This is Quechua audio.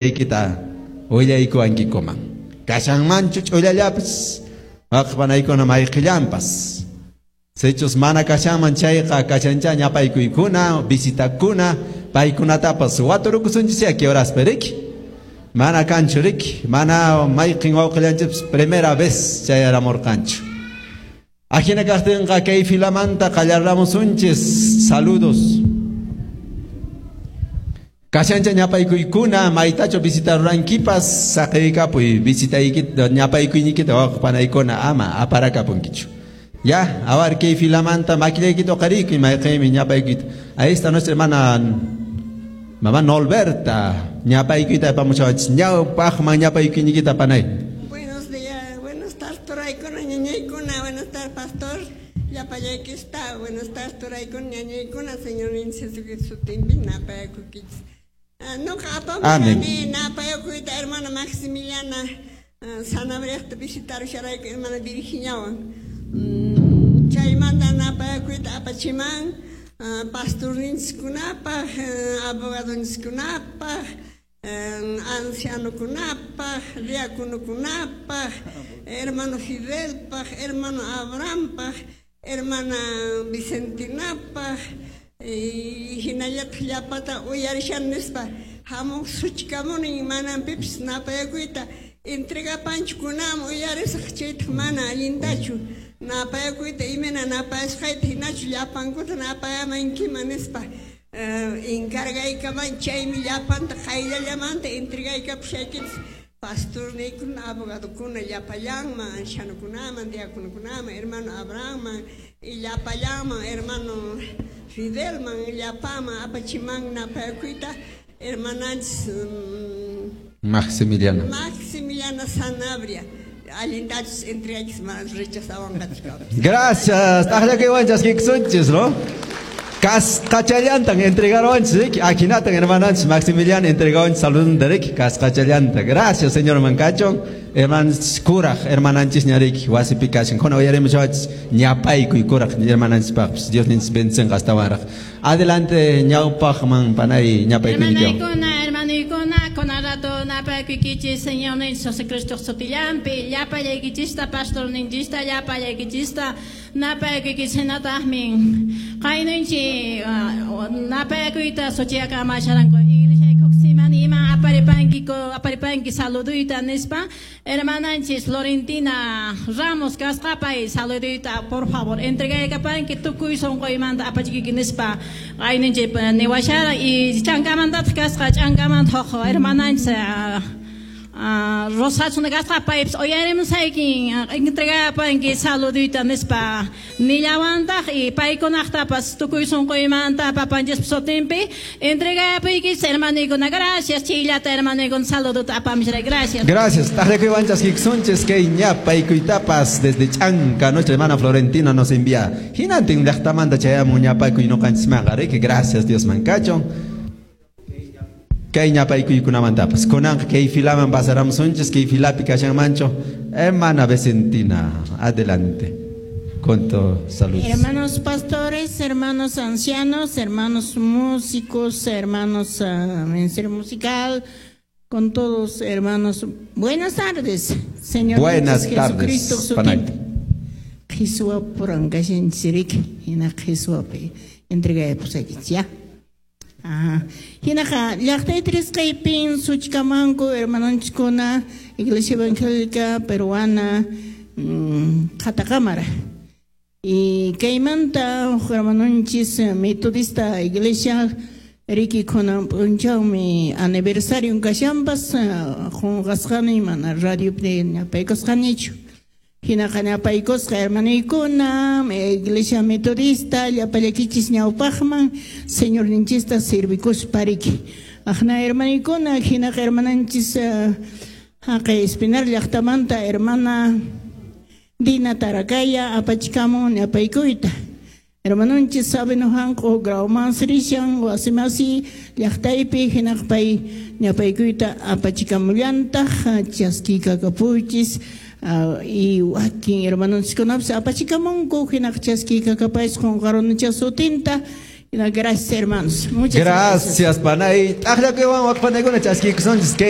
Kita willaykuwankikuman. Kashanmanchu ch'ullallapis waqpanaykuna mayqillanpas. Sichus mana kashanman chayqa kashancha ñapaykuykuna, visitakuna, paykunatapas waturukusunchis kay horaspi riki. Mana kanchu riki, mana mayqin wawqillanchis primera vez chayaramurqanchu. Ajina kaqtinqa kay filamanta qallarramusunchis saludos. Kashancha ñapaykuykuna maytachu visitarurankipas saqiykapuy visitaykita ñapaykuynikita waqpanaykuna ama aparakapunkichu. Ya, awar kay filamanta makillaykita uqariykuy mayqinmi ñapaykuyta. Ahí está nuestra hermana mamá Nolberta ñapaykuyta apamuchawachis ñawpaqman ñapaykuynikita panay. Buenos días, buenas tardes, turaykuna, ñañaykuna, buenas tardes, pastor. Llapallaykista, buenas tardes, turaykuna, ñañaykuna, Señor Jesucristo sutinpi napayakuykichis. Nuqa apamushani napayakuyta hermana Maximiliana Sanabriaqta visitarusharayku hermana Virginiawan. Chaymanta napayakuyta apachiman pastorninchiskunapaq, abogadonchiskunapaq, ancianokunapaq, diáconokunapaq, hermano Fidelpaq, hermano Abrahampaq, hermana Vicentinapaq, hinallataq llapata uyarishan nispa hamuq suchkamunin manan pipis napayakuyta entregapanchu kunaman uyarisaq chaytaq mana allintachu napayakuyta imayna napayasqayta hinachu llapankuta napayamankiman nispa encargaykaman chaymi llapanta qayllallamanta entregaykapushaykichis pastorniykuna, abogadokuna llapallanman, ancianokunaman, diáconokunaman, hermano Abrahamman, y llapallanman, hermano Fidelman, llapaman, apachiman napayakuyta, hermananchis Maximiliana. Maximiliana Sanabria. Allintachus entregaychis mana rechazawanqachu. Gracias. Taqllakaywan chaskikusunchis, ¿no? Kasqachallantan entregaronchis, akinatan hermananchis Maximiliana entregaronchis saludun riki kasqachallanta. Gracias, señor Mancacho. Hermananchis kuraq hermananchis ñariki wasipi kashan. Kuna uyarimushawachis ñapaykuy kuraq hermananchispaqpis. Dios ninchis bendicenqa astawanraq. Adelante ñawpaqman panay ñapaykuynikiwan. Hermanaykuna, hermanoykuna, kuna rato napayakuykichis Señor ninchis Jesucristo sutillanpi, llapallaykichista pastorninchista, llapallaykichista napayakuykichis hinataqmi qaynunchi napayakuyta suchiyakamasharanku iglesia ima aparipanki aparipanki saluduyta nispa hermananchis Florentina Ramos kasqapay saluduyta por favor entregaykapanki tukuy sunquymanta apachikiki nispa qaynunchi niwashara y chankamantataq kasqa ch'ankamanta huk hermananchis Rosachuna kasqa paypis uyarimusaykin entregapanki saluduyta nispa nillawantaq y paykunaqtapas tukuy sunquymanta papanchispa sutinpi entregapuykichis hermanoykuna. Gracias chayllata hermanoykuna saludota apamusharay. Gracias. Gracias. Taqllakuywan chaskikusunchis kay ñapaykuytapas desde Chanca nuestra hermana Florentina nos envía. Hinantin llaqtamanta chayamun ñapaykuy ñuqanchismanqa riki. Gracias Dios mankachon. Kay ñapaykuykunamantapas. Kunanqa kay filaman pasaramusunchis kay filapi kashanmanchu. Hermana Vicentina, adelante. Con tu salud. Hermanos pastores, hermanos ancianos, hermanos músicos, hermanos ministerio musical, con todos hermanos. Buenas tardes, Señor Buenas Jesucristo tardes, panay. Qhiswa purangashanchik hina qhiswapi entregayapusaykichis ya. Ajá. Hinaqa llaqtay trisqaypin suchkamanku hermanonchiskuna Iglesia Evangélica Peruana Qhatakamara. Y kaymanta hermanonchis Metodista Iglesia riki kunan p'unchawmi aniversario kashanpas qunqasqani mana radiopi ñapaykusqanichu. Hinaqa ñapaykusqa hermanoykuna Iglesia Metodista llapallakichis ñawpaqman Señorninchista servikuspa riki. Aqna hermanoykuna hinaqa hermananchis haqay Espinar llaqtamanta hermana Dina Tarakaya apachikamun ñapaykuyta. Hermanonchis Sabino hanq'u Grauman rishan wasimasi llaqtaypi hinaqpay ñapaykuyta apachikamullantaq chaskikakapuychis y wakin hermanonchiskunapis apachikamunku hinaq chaskikakapaychis qunqarunacha sutinta. Gracias, hermanos. Muchas gracias. Gracias, panay. T'aqllakuywan wak panaykuna chaskiykusunchis kay.